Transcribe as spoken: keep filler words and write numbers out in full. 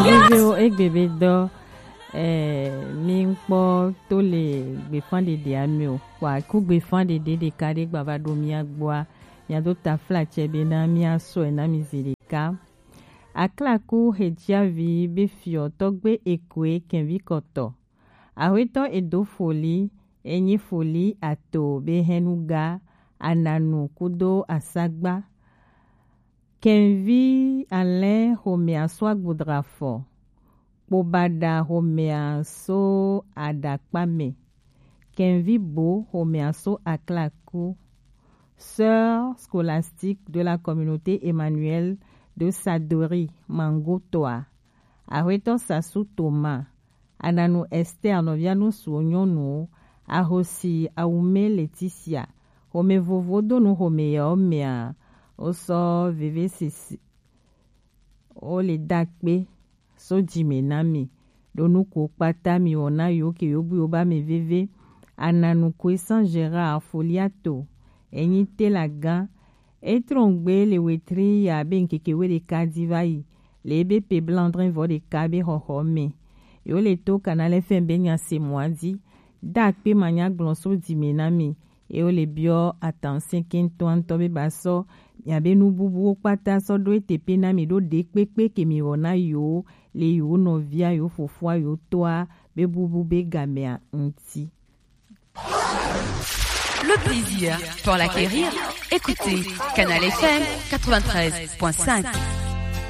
Viviwo egbe be dɔ, eh, mi ŋkpɔ to le gbefan ɖeɖe ami o. Kpa ku gbefan ɖeɖe ɖeka ɖe gba va ɖo mia gbɔa, mia do tafla cɛ be na mia sɔe na mi zi ɖeka. Aklaku hejiavi be fiɔ tɔgbe ekoe kɛnvi kɔtɔ. Ahwetɔ edo foli, enyi foli ato be hɛnuga, ananu kudo asagba. Kɛnvi alɛ xomɛ aso agbodra fɔ. Kpobaɖa xomɛ aso aɖakpa mɛ. Kɛnvi bo xomɛ aso aklaku. Sœur scolastique de la communauté Emmanuel de Sadori Mangotoa. Ahwetɔ Sasu Thomas. Ananu Esther nɔvia nu suwo nyɔnuwo, ahosi awume Leticia, xome vovo do nu xome yawo mea, wosɔ veve sisi, wo le da kpe so dzi me na mi, ɖo nu ko kpata mi wɔ na yo ke yo bu yo ba me veve, ananu koe san Gérard Foliato, enyi te la gan, Etrɔngbe le wetri ya be ŋkeke we ɖeka di va yi le ebe pe blandrin vɔ ɖeka be xɔxɔ me. Yo le to Canal F M be nya se mɔa di. Da kpe ma nya gblɔ so di me na mi. Ye wo le biɔ atanse kentɔ ŋutɔ be ba sɔ mia be nu bubuwo kpata sɔ ɖo ete pe na mi ɖo ɖe kpekpe ke mi wɔ na yo le yo nɔvia yo fofoa yo tɔa be bubu be gamea ŋuti. Le plaisir pour l'acquérir, écoutez Canal F M quatre-vingt-treize point cinq.